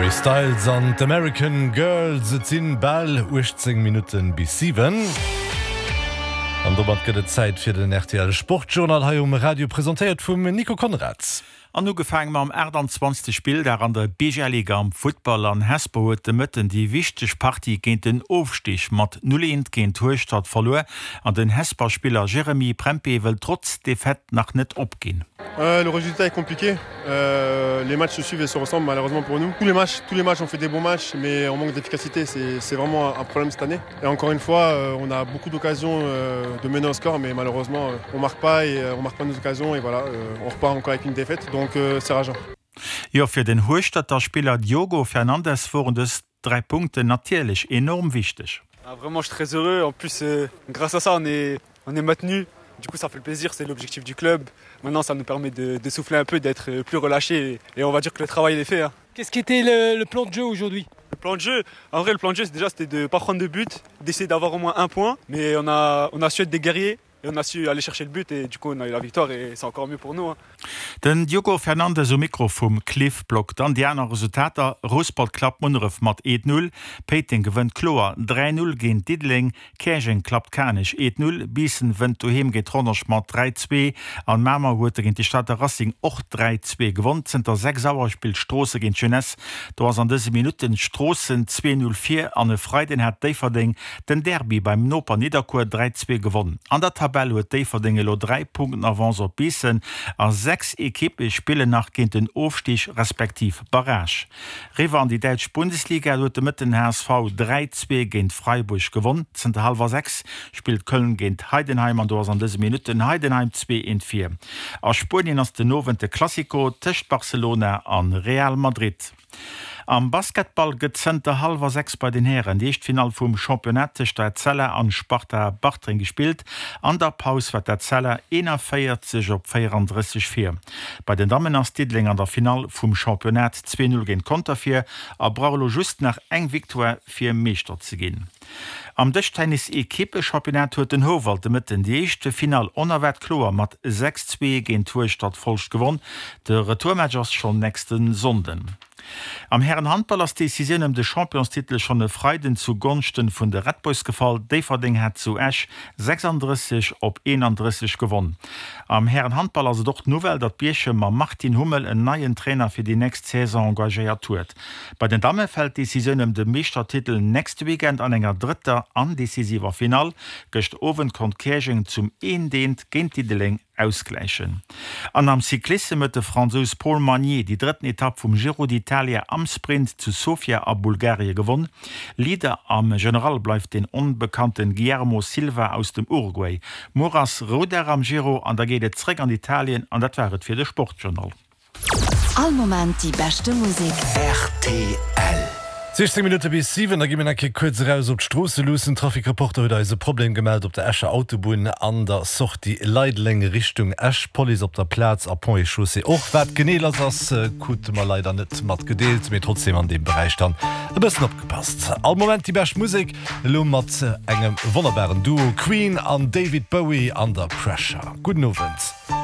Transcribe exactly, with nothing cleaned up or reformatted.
Harry Styles an d'American Girls. Et sinn bal uechtzéng Minutten bis siwen. An domat gëtt et Zäit fir den R T L Sportjournal hei um Radio, presentéiert vum Nico Konrads. An ugefaange mam aachtanzwanzegste Spilldag an der B G L Liga am Futtball an Hesper huet de Mëtten déi wichteg Partie géint den Ofstig mat null eent géint Hueschtert verluer an den Hesper Spiller Jeremy Prempeh wëll trotz Defaite nach net opginn. Euh, le résultat est compliqué. Euh, les matchs se suivent et se ressemblent malheureusement pour nous. Tous les matchs, tous les matchs on fait des bons matchs, mais on manque d'efficacité. C'est vraiment un problème cette année. Et encore une fois, euh, on a beaucoup d'occasions euh, de mener au score, mais malheureusement, euh, on marque pas et euh, on marque pas nos occasions et voilà, on repart encore avec une défaite. Donc c'est rageant. Jo, fir den Hueschterter Spiller Diogo Fernandes woren dës dräi Punkten natierlech enorm wichteg. Ah, vraiment, je suis très heureux. En plus, euh, grâce à ça, on est, on est maintenu. Du coup, ça fait plaisir, c'est l'objectif du club. Maintenant, ça nous permet de, de souffler un peu, d'être plus relâché. Et, et on va dire que le travail est fait. Hein. Qu'est-ce qui était le, le plan de jeu aujourd'hui? Le plan de jeu, en vrai, le plan de jeu, déjà, c'était de ne pas prendre de but, d'essayer d'avoir au moins un point. Mais on a, on a su être des guerriers et on a su aller chercher le but et du coup on a eu la victoire et c'est encore mieux pour nous. Hein. Den Diogo Fernandes um Mikro vum Cliff Block. Dann déi aner Resultater: Rouspert klappt Munneref mat eent null, Péiteng gewënnt kloer dräi null géint Diddeleng, Käerjeng klappt Kanech eent null, Biissen wënnt doheem géint Rodange mat dräi zwee an Mamer huet géint de Stater Racing och dräi zwee gewonn. Zënter sechs Auer spillt Stroossen géint Jeunesse, do ass an dëse Minutten Stroossen zwee null vir an e Freiden hat Déifferdeng den Derby beim Noper Nidderkuer dräi zwee gewonn. An der Tabell huet Déifferdeng elo dräi Punkten Avance op Biissen a sechs Ekippe spillen nach géint den Ofstig respektiv Barrage. Riwwer an déi däitsch Bundesliga huet de Mëtten H S V dräi zwee géint Freiburg gewonn. Zënter hallwer sechs spillt Köln géint Heidenheim an do ass an dëse Minutten Heidenheim zwee eent vir. A Spuenien ass den Owend de Clasico tëscht Barcelona an Real Madrid. Am Basketball gëtt zënter hallwer sechs bei den Hären déi éischt Finall vum Championnat tëscht der Etzella an Sparta Bartreng gespillt. An der Paus war d'Etzella eenanvéierzeg op véierandrësseg vir. Bei den Dammen ass Diddeleng an der Finall vum Championnat zwee null géint Conter vir a brauch elo just nach eng Victoire fir Meeschter ze ginn. Am Dëschtennis Ekippe-Championnat huet den Houwald de Mëtten déi éischt Finall onerwaart kloer mat sechs zwee géint Hueschtert Folscht gewonn. De Retourmatch ass schonn nächste Sonnden. Am Härenhandball ass d'Decisioun ëm de Championstitel schonn e Freiden zu Gonschten vun de Red Boys gefall. Déifferdeng hat zu Esch sechsandrësseg op eenandrësseg gewonn. Am Härenhandball ass et och d'Nouvelle, datt Bierchem mam Martin Hummel en neien Trainer fir déi nächst Saison engagéiert huet. Bei den Damme fält d'Decisioun ëm de Meeschtertitel nächste Weekend an enger drëtter an decisiver Finall. Gëschter Owend konnt Käerjeng zum eent eent géint Diddeleng ausgläichen. An am Cyclissem huet de Fransous Paul Magnier déi drëtten Etapp vum Giro d'Italia am Sprint zu Sofia a Bulgarie gewonn. Leader am General bleift den onbekannten Guillermo Silva aus dem Uruguay. Muer ass Roudag am Giro an da geet et zréck an Italien an dat war et fir de Sportjournal. All Moment déi beschte Musek. R T L. siechzéng Minutte bis siwen, da gi mir nach eng Kéier kuerz eraus op d'Stroosse luussen. Trafic-Reporter huet eis e Problem gemellt op der Escher Autobunn an der Sortie Leideleng Richtung Esch. Police op der Plaz a Ponts et Chaussées och. Wat genee lass ass, krute mer leider net matgedeelt, mee trotzdem an deem Beräich dann e bëssen opgepasst. All Moment déi bescht Musek, elo mat engem wonnerbaren Duo, Queen an David Bowie an der Pressure. Gudden Owend.